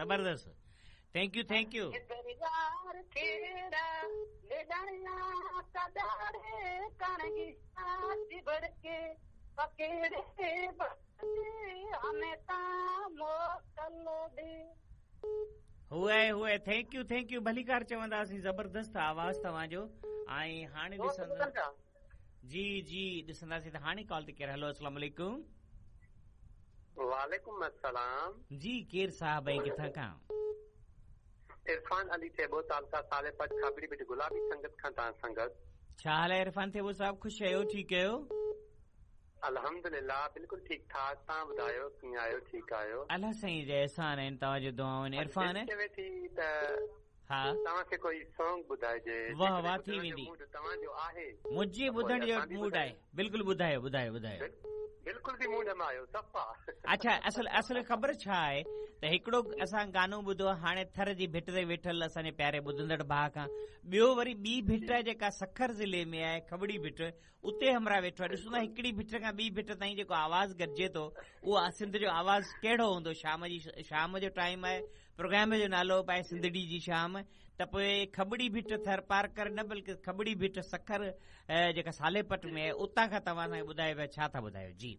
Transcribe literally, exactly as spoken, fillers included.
ज़बरदस्त। Thank you thank you. हुए हुए thank you thank you. भलीकार चवंदासीं, ज़बरदस्त आवाज़ तव्हांजो। ऐं हाणे ॾिसंदा जी जी ॾिसंदासीं त हाणे कॉल ते केरु। हलो अस्सलाम वालेकुम। वालेकुम अस्सलाम। जी केरु साहब ऐं किथां खां? इरफान अली थेबो, तालका सालेपट, खाबड़ी बिट, गुलाबी संगत खां तव्हां सां गॾु। छा हाल आहे इरफान थेबो साहब? ख़ुशि आहियो, ठीकु आहियो? अल्हम्दुलिल्लाह बिल्कुलु ठीक ठाक। तव्हां ॿुधायो कीअं आहियो, ठीकु आहियो? अलाह साईं जा एहसान आहिनि, तव्हांजो दुआऊं आहिनि। इरफान चवे थी त हा तव्हांखे कोई सॉन्ग ॿुधाइजे। वाह वाह थी वेंदी। तव्हांजो आहे मुंहिंजे ॿुधण जो मूड आहे। बिल्कुलु ॿुधायो ॿुधायो ॿुधायो। बिल्कुलु बि मूड में आयो सफ़ा। अच्छा असल असल ख़बर छा आहे त हिकिड़ो असां गानो ॿुधो हाणे थर जी भिट ते वेठल असांजे प्यारे ॿुधंदड़ भाउ खां, ॿियो वरी ॿी भिट आहे जेका सखर ज़िले में आहे, खबड़ी भिट, उते हमरा वेठो आहे। ॾिसो न हिकिड़ी भिट खां ॿी भिट ताईं जेको आवाज़ गॾिजे थो उहो सिंध जो आवाज़ कहिड़ो हूंदो। शाम जी शाम जो टाइम आहे, प्रोग्राम जो नालो बि आहे सिंधड़ी जी शाम, त पोइ खबड़ी भिट थर पारकर न बल्कि खबड़ी भिट सखर जेका सालेपट में आहे उतां खां तव्हां असांखे ॿुधायो पिया, छा था ॿुधायो? जी